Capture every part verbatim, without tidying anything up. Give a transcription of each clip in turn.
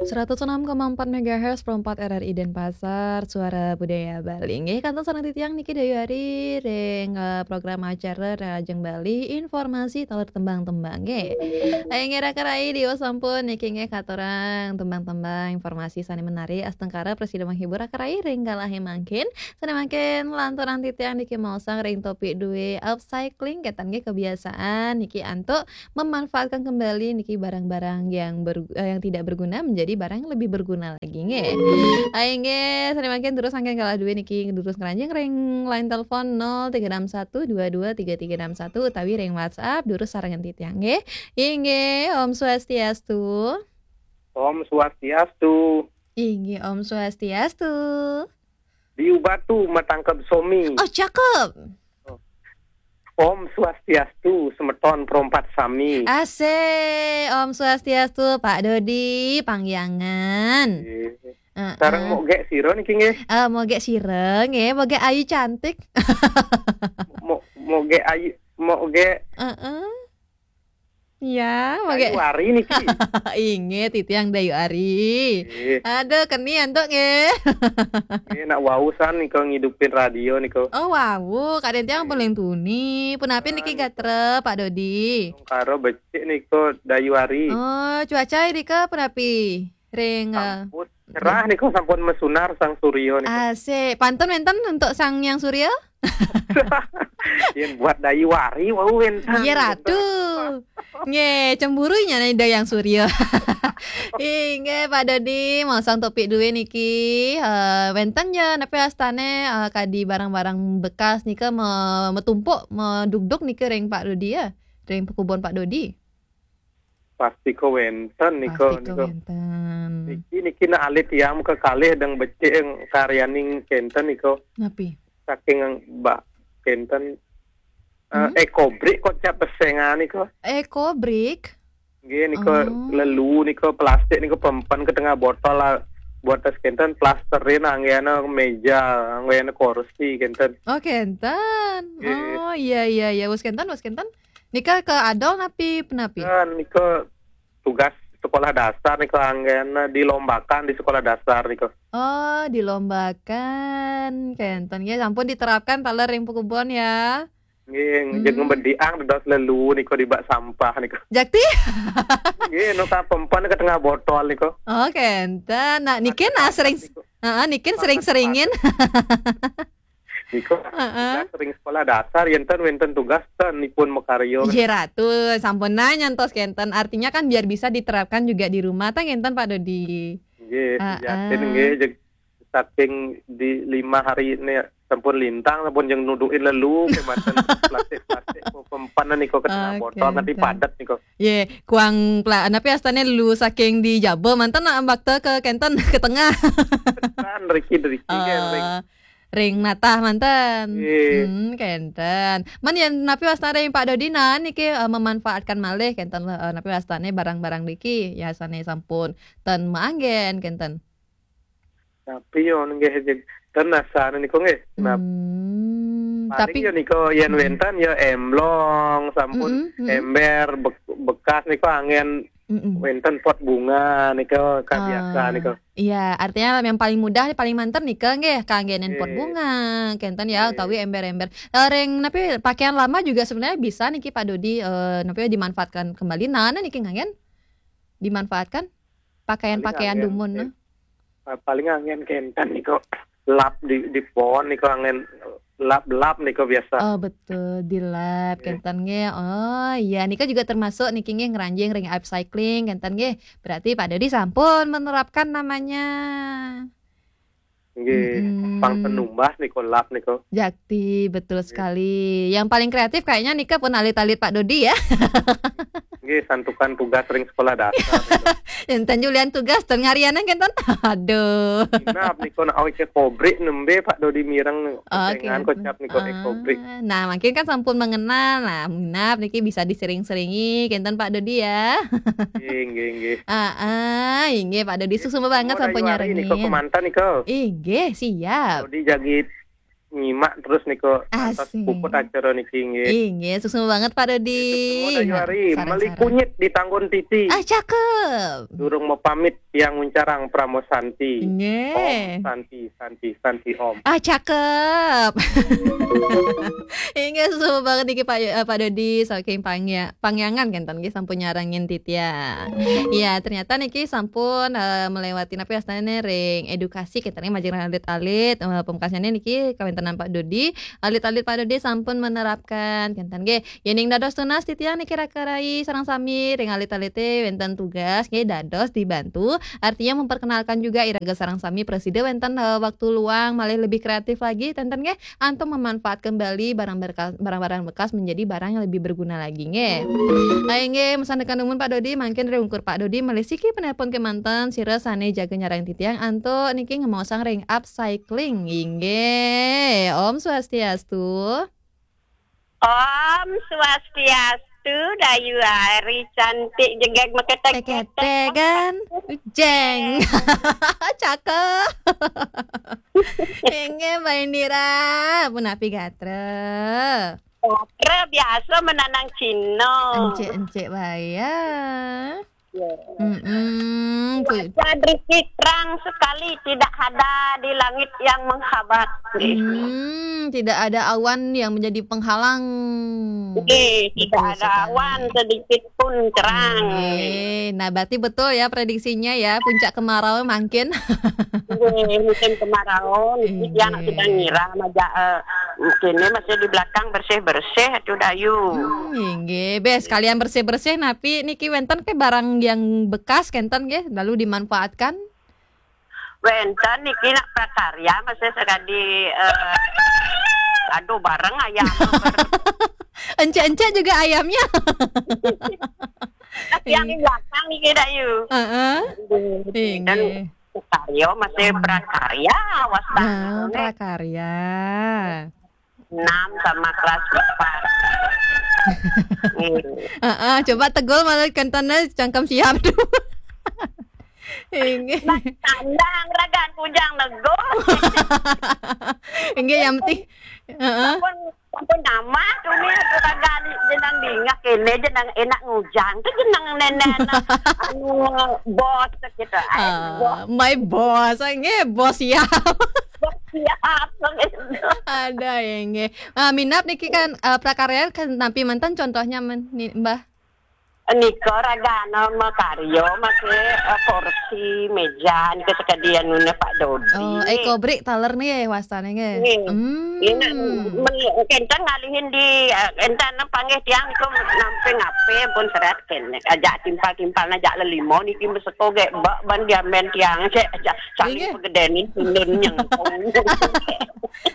Seratus enam koma empat megahertz, Pro empat R R I Denpasar, Suara Budaya Bali. Nggih, kantun sareng titiang niki Dayu Ari ring, eh, program acara Rahajeng Bali, informasi taler tembang-tembang nggih. Inggih, Raka Rai, diwas sampun niki nggih katurang tembang-tembang, informasi sane menarik, astungkara prasida menghibur Raka Rai ring kalahe mangkin. Sane mangkin lanturang titiang niki maosang ring topik duwe upcycling, kenten nggih kebiasaan niki antuk memanfaatkan kembali niki barang-barang yang ber-, eh, yang tidak berguna menjadi barang yang lebih berguna lagi nggih. Ayo nggih, sane mangkin terus anggen kalah duwe niki terus ngranjing ring line telepon nol tiga enam satu dua dua tiga tiga enam satu utawi ring WhatsApp terus sarengan titiang nggih. Inggih, Om Swastiastu. Om Swastiastu. Inggih, Om Swastiastu. Diubatu matangkeb somi. Oh, cakep. Om Swastiastu, semeton perompat sami. Asik, Om Swastiastu, Pak Dodi, pangyangan. Nggih. Heeh. Sareng mogek sira niki nggih? Eh, mogek sira nggih, mogek ayu cantik. Mo-, mogek ayu, mogek Heeh. Ya, Dayu mogek Ari niki. Inggih, titiang Dayu Ari. Nggih. Aduh, keni antuk nggih. Nggih, nak wau san nika ngidupin radio nika. Oh, wau, kadang tiang Nggih. Paling tuni. Punapi niki Ah, nika. Gatra, Pak Dodi? Karo becik nika Dayu Ari. Oh, cuaca nika punapi? Ring, eh, Sampun cerah nika, sampun mesunar Sang Surya nika. Asik. Pantun wenten untuk Sang Yang Surya? Yen buat Dayu Ari wau wenten. Iya, Ratu. Nggih, cemburu nya nih Dayang Surya. Inggih, Pak Dodi, maosang topik duwe niki, eh, wenten ya, napi astane, eh, kadi barang-barang bekas nika me-, metumpuk, medugdug nika ring Pak Dodi ya, ring pekubon Pak Dodi. Pasti ko wenten nika, Pasti ko nika. Wenten. Niki, niki nak alit tiang kekalih deng becik karyaning kenten nika. Napi? Saking bak kenten, eh, Hmm? Ekobrik kocap pesengan nika. Ekobrik? Nggih, nika Oh. Lelu nika plastik nika pempen ke tengah botol lah. Buat tas kenten plasterin anggena meja, anggena kursi kenten. Oh, kenten. Nggih. Oh, iya, iya, iya. Wus kenten, wus kenten. Nika ke adol napi, penapi? Kan nika tugas sekolah dasar nika anggena dilombakan di sekolah dasar nika. Oh, dilombakan. Kenten. Ya, sampun diterapkan taler ring pekubon ya. Nggih, Hmm. Jeg ngembediang dados lelu nika dibak sampah nika. Jakti? Nggih, nuka pempan ke tengah botol nika. Oh, kenten. Nah, nikin, ah, sering, nika. Heeh, nikin sering-seringin. Nika Heeh. Tugas ring sekolah dasar, yen ten wenten tugas ten ipun makarya. Nggih, Ratu, sampun nah nyantos kenten. Artinya kan biar bisa diterapkan juga di rumah, tah ngenten, Pak Dodi? Nggih, Heeh. Yakin nggih, jeg saking di lima hari ini sampun lintang, sampun jeng nudukin lelu, kematan plastik-plastik, pempan niko ke tengah Oh, botol, nanti kenten. Padat niko. Ye, kuang pla-, napi astane lelu saking di jaba, manten nak bakta ke kenten ke tengah. Kan, riki, riki, kan, ring. Ah, ring natah manten. Ye. Hmm, kenten. Man yen napi wastane ring Pak Dodi, nah, niki, eh, memanfaatkan malih kenten, eh, napi wastane barang-barang niki, yasane sampun ten maanggen kenten. Tapi yo nggih, jeg, ten asane niku nggih. Nah, Hmm, paling tapi yo niku yen Mm-mm. Wenten yo emblong, sampun Mm-mm, mm-mm. Ember bek-, bekas niku anggen Mm-mm. Wenten pot bunga niku, kan biasa Ah, niku. Iya, artinya yang paling mudah, paling manten nika nggih, kanggenin pot Nggih. Bunga, kenten ya, Nggih. Utawi ember-ember. Eh, ring napi pakaian lama juga sebenarnya bisa niki Pak Dodi, eh, napi dimanfaatkan kembali. Nah, nah niki nganggen dimanfaatkan pakaian-pakaian Paling anggen dumun, ke-, nah. Pa-, paling anggen kenten niku lap di, di pohon niku anggen lap-lap niku biasa. Oh, betul, dilap, Nggih. Kenten nggih. Oh, iya, nika juga termasuk niki nggih ngranjing ring upcycling, kenten nggih. Berarti Pak Dodi sampun menerapkan namanya. Nggih, Mm-mm. Pang penumbas niku lap niku. Jakti, betul Nggih. Sekali. Yang paling kreatif kayaknya nika pun alit-alit Pak Dodi ya. Nggih, santukan tugas ring sekolah dasar niku. Enten julian tugas, ten ngarianan kenten. Aduh. Inap niku nak awit ke kobrik nembe Pak Dodi mireng. Oh, pesengan kenten. Kocap niku, ah, ekobrik. Nah, mungkin kan sampun mengenal. Nah, minap niki bisa disering-seringi kenten Pak Dodi ya. Nggih, nggih, nggih. Ah, ah, inggih Pak Dodi, nggih. Suksma banget sampun nyarengin. Niku kemanten niku. Inggih, siap. Dodi jagi nyimak terus niko ngantos puput acara niki nggih. Inggih, suksma banget Pak Dodi. Suksma Dayu Ari, meli kunyit di tanggon titi. Ah, cakep. Durung mau pamit tiang nguncarang Pramo Santi. Nggih. Om Santi, Santi, Santi Om. Ah, cakep. Inggih, suksma banget niki Pak, eh, Pak Dodi saking Pangya-, Pangyangan kenten nggih sampun nyarengin titiang. Ya, ternyata niki sampun, eh, melewati napi wastane ring edukasi kenten nggih majeng alit-alit, eh, pemekasane niki kawentenan Pak Dodi, alit-alit Pak Dodi sampun menerapkan kenten nggih. Yening dados tunas titiang niki raka rai sareng sami ring alit-alite wenten tugas nggih dados dibantu. Artinya memperkenalkan juga iraga sareng sami presida wenten, eh, waktu luang malih lebih kreatif lagi kenten nggih antuk memanfaat kembali barang berka-, barang-barang bekas menjadi barang yang lebih berguna lagi nggih. Ayo nggih, masandekan dumun Pak Dodi, mangkin ring ungkur Pak Dodi malih siki penelpon kemanten sira sane jaga nyarengin titiang antuk niki ngemaosang ring upcycling nggih. Om Swastiastu. Om Swastiastu, Dayu Ari cantik jegeg meketek-ketek. Teketegan, jeng. Cakep. Inggih, Mbak Indira, punapi gatra? Gatra biasa menanang Cina. Encik-encik bae ya. Ya. Mm-mm. Cuaca riki terang sekali, tidak ada di langit yang menghabat. Hmm, tidak ada awan yang menjadi penghalang. Oke, tidak ada awan sedikit pun, terang. Oke. Nah, berarti betul ya prediksinya ya, puncak kemarau mangkin. Oke, musim kemarau, niki dia anak sedang nyiram aja, eh, kene masih di belakang bersih-bersih tuh Dayu. Hmm, inggih. Bes, sekalian bersih-bersih napi niki wenten ke barang yang bekas kenten nggih, lalu dimanfaatkan? Wenten niki nak prakarya masih sekadi, eh, aduh, bareng ayam. Encik-encik juga ayamnya. Yang di belakang niki Dayu. Heeh. Inggih. Prakarya masih prakarya, wastane. Nah, prakarya. Enam sama kelas empat. Heeh, coba tegul malah kentene cangkem siap tu. Inggih. Nah, tandang ragan kujang negul. Inggih, yang penting, heeh. Sampun, sampun nama tu ni, ragan jenang dingah kene, jenang enak ngujang. Tu jenang nenen, anu, bos kita. Ah, bos. My boss, inggih, bos siap. Bos siap, gitu. Ada, inggih. Ah, minab niki kan, eh, prakarya kan napi manten contohnya men-, ni, Mbah? Nika ragana makarya, masih, eh, kursi, meja, nika sekadi anune Pak Dodi. Oh, eco brick taler nih ya, wastane nggih. Nggih. Hmm. Ini, men-, kenten ngalihin di, eh, enten panggih tiang niku nampi ngape pun seret kene. Ajak timpal-timpal ajak lelima niki meseko gek bak ban diamen tiang cek ajak saling pegedenin tundun nyengkung.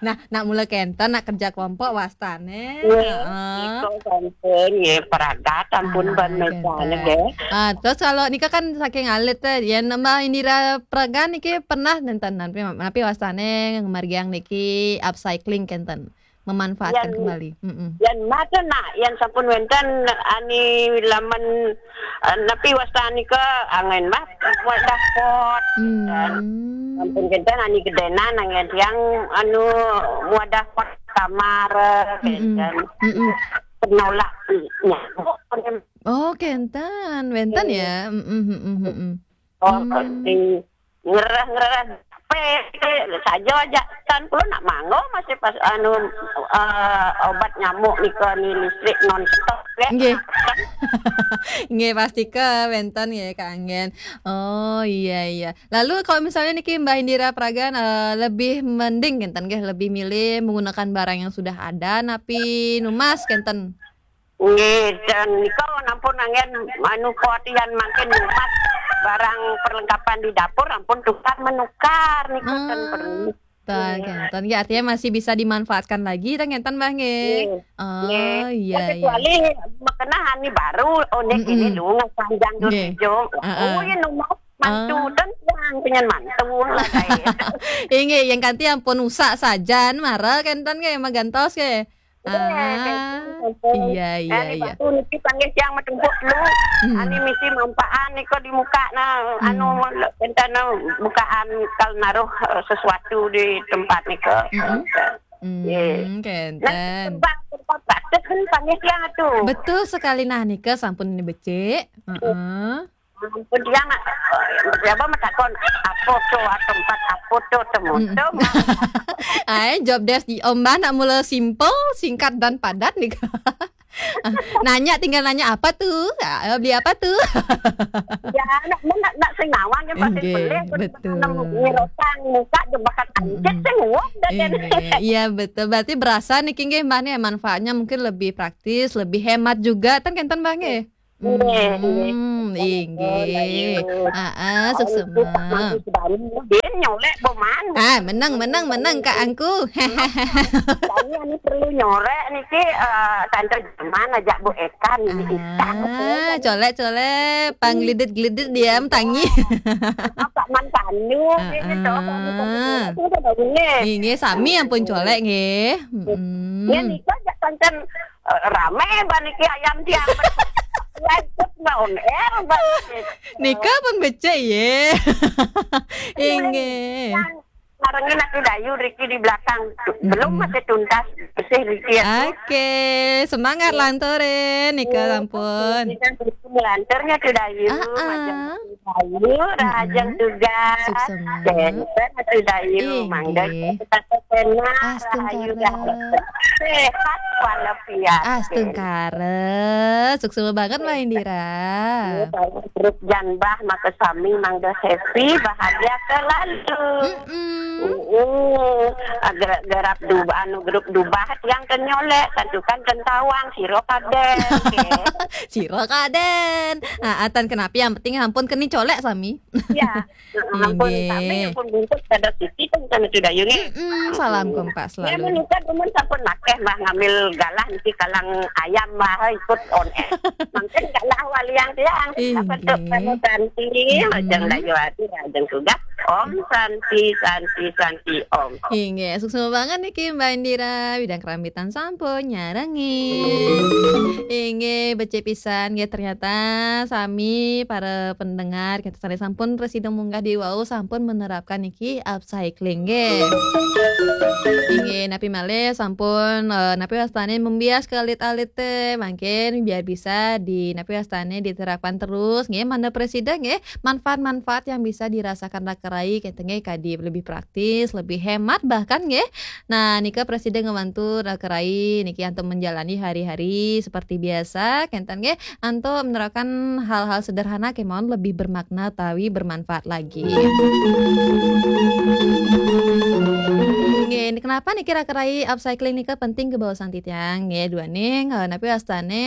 Nah, nak mula kenten, nak kerja kelompok wastane. Nggih, heeh. Nika sampun, nggih, pragat ampun ban mejane, nggih. Ah, terus kalau nika kan saking alit teh, yen Mbah Indira Pragan niki pernah nenten napi, napi wastane ngemargiang niki upcycling kenten, memanfaatkan kembali. Mm-mm. Yen mate nak, yen sampun wenten ani laman, eh, napi wastane ke angen mah wadah pot. Hmm. Sampun kenten ani gedenan angen tiang anu wadah pot kamar, eh, kenten. Mm-mm. Penolak nyamuk. Oh, kenten, wenten ya. Mm-mm, mm-mm, mm-mm. Oh, di ngerah-ngerah pe saja aja kan kulo nak mangga masih pas anu, eh, obat nyamuk nika ni listrik non stop ya. Nggih. Nggih, pasti ke wenten nggih, Kak Anggen. Oh, iya, iya. Lalu kalau misalnya niki Mbah Indira Pragan, eh, lebih mending kenten nggih, lebih milih menggunakan barang yang sudah ada napi numas kenten? Nggih, dan nika nampun angen anu kuatian mangkin numas barang perlengkapan di dapur ampun tukar menukar nika ten perlu. Ten, nggih. Kenten. Ya, artinya masih bisa dimanfaatkan lagi, ten kenten, Mbah, nggih. Nggih. Oh, iya, iya. Kecuali makenah ani baru, oh, nek ini lu ngesanjang dulu. Nggih. Heeh. Oh, ya numas mantu ten yang pengen mantu lah kayak. Inggih, yang kanti ampun usak sajan, mara kenten nggih, magantos nggih. Ah, iya, iya, iya. Batu niki panggih tiang matumpuk telu. Hmm. Ani misi mampaan nika di muka na, anu, enten bukaan kal naruh, eh, sesuatu di tempat nika. Hmm. Hmm, kenten. Nah, tempat, tempat batuk kan panggil tiang tu. Betul sekali. Nah, nika sampun ini becik. Heeh. Ampun, tiang nak, eh, siapa matakon, apa tu, ah, tempat apa tu, temu-temu. Mm. Ai, job desk di Om Bah nak mula simple, singkat dan padat nih. Nanya, tinggal nanya, "Apa tu? Ah, beli apa tu?" Ya, nak, nak, nak sing nawang ya, pasti inggih, boleh. Betul. Nang nyerotang muka je bakat anjit, hmm, sing uap dah kan. Inggih, iya, betul. Berarti berasa niki nggih, Mbah, nih, manfaatnya mungkin lebih praktis, lebih hemat juga, kan kenten, Mbah, nggih? Inggih, inggih. Hmm, inggih. Heeh, suksema. Dia nyolek boman. Ah, menang, menang, menang, Kak Angku. Kami ini perlu nyorek niki, eh, tante zaman ajak Bu Eka ini. Ah, colek, colek, panggelidit-gelidit dia tangi. Apa man pandu ini tuh, kami perlu nyorek, itu udah bunyi. Nggih, sami ampun colek nggih. Mm-mm. Ya, nika ajak pancen, eh, rame baniki ayam tiang. Live on air baniki. Nika pun becik ye. Inggih. Yang barengin Atu Dayu Riki di belakang. Belum, mm-mm, masih tuntas. Bersih Riki ya. Oke, semangat, iya, lanturin nika, iya, sampun. Lanturnya Atu Dayu, ah, ah, majeng Dayu, rahajeng, mm-mm, tugas. Suksema. Kenten Atu Dayu, inggih, mangga kita tetena, astungkara, rahayu, dah. Sehat walafiat. Astungkara. Suksema banget, Mbak Indira. Iya, grup Janbah, maka sami mangga happy, bahagia selalu. Mm-mm. Mm-mm. Ah, ger-, gerap du-, anu, grup Dubah yang kenyolek, tentukan kentawang, siro kaden, oke. Siro kaden. Ah, atan kenapi, yang penting ampun keni colek sami. Ya. Heeh, ampun, inggih, sami ampun bungkus kada Siti kan sama Atu Dayu nggih. Mm-mm, salam kompak selalu. Ya, menikah dumun sampun akeh, Mbah, ngambil galah niki kalang ayam, Mbah, ikut on air. Mungkin galah waliang tiang. Inggih. Apa tu, kamu Santi, mm-mm, majeng Dayu Adi, majeng tugas. Om Santi, Santi, Santi, Om. Inggih, suksema banget niki Mbak Indira, bidang kerambitan sampun nyarengin. Inggih, becik pisan nggih, ternyata sami para pendengar kita sami sampun prasida munggah di wau sampun menerapkan niki upcycling nggih. Inggih, napi malih sampun, eh, napi wastane membias ke alit-alit teh, mangkin biar bisa di napi wastane diterapkan terus nggih, mana prasida nggih, manfaat-manfaat yang bisa dirasakan raka rai kenten nggih, kadi lebih praktis, lebih hemat bahkan nggih. Nah, nika prasida ngebantu raka rai niki antuk menjalani hari-hari seperti biasa, kenten nggih, antuk menerapkan hal-hal sederhana kemawon lebih bermakna utawi bermanfaat lagi. Nggih, kenapa niki raka rai upcycling nika penting kebawasan titiang? Nggih, duaning, eh, napi wastane,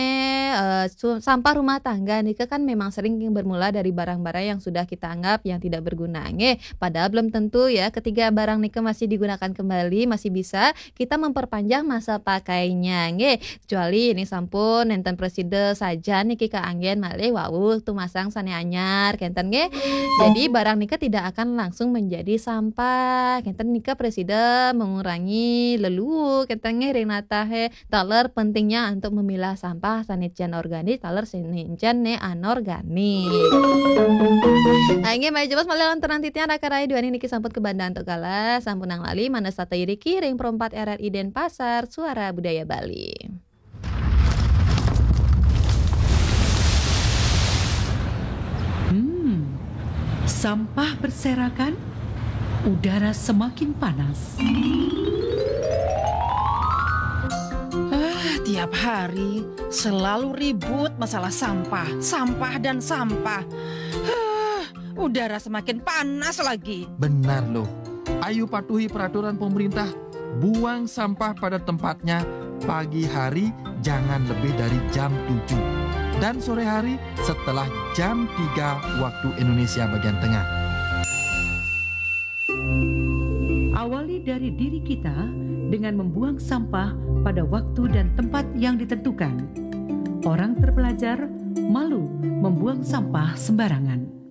eh, su-, sampah rumah tangga nika kan memang sering bermula dari barang-barang yang sudah kita anggap yang tidak berguna, nggih. Padahal belum tentu ya, ketika barang nika masih digunakan kembali, masih bisa kita memperpanjang masa pakainya, nggih. Kecuali ini sampun nenten prasida sajan niki kaanggen malih wau tumasang sane anyar, kenten nggih. Jadi barang nika tidak akan langsung menjadi sampah. Kenten nika prasida mengurangi lelu, kenten nggih ring natahe taler pentingnya untuk memilah sampah sane jan organik, taler sane jan ne anorganik. Ah, inggih, malih jebos malih lantaran titiang raka rai duaning niki sampun kabanda antuk galah, sampunang lali manah sata iriki ring Pro empat R R I Denpasar, Suara Budaya Bali. Hmm, sampah berserakan, udara semakin panas. Ah, tiap hari selalu ribut masalah sampah, sampah dan sampah. Ah, udara semakin panas lagi. Benar loh. Ayo patuhi peraturan pemerintah, buang sampah pada tempatnya pagi hari jangan lebih dari jam tujuh. Dan sore hari setelah jam tiga waktu Indonesia bagian tengah. Awali dari diri kita dengan membuang sampah pada waktu dan tempat yang ditentukan. Orang terpelajar malu membuang sampah sembarangan.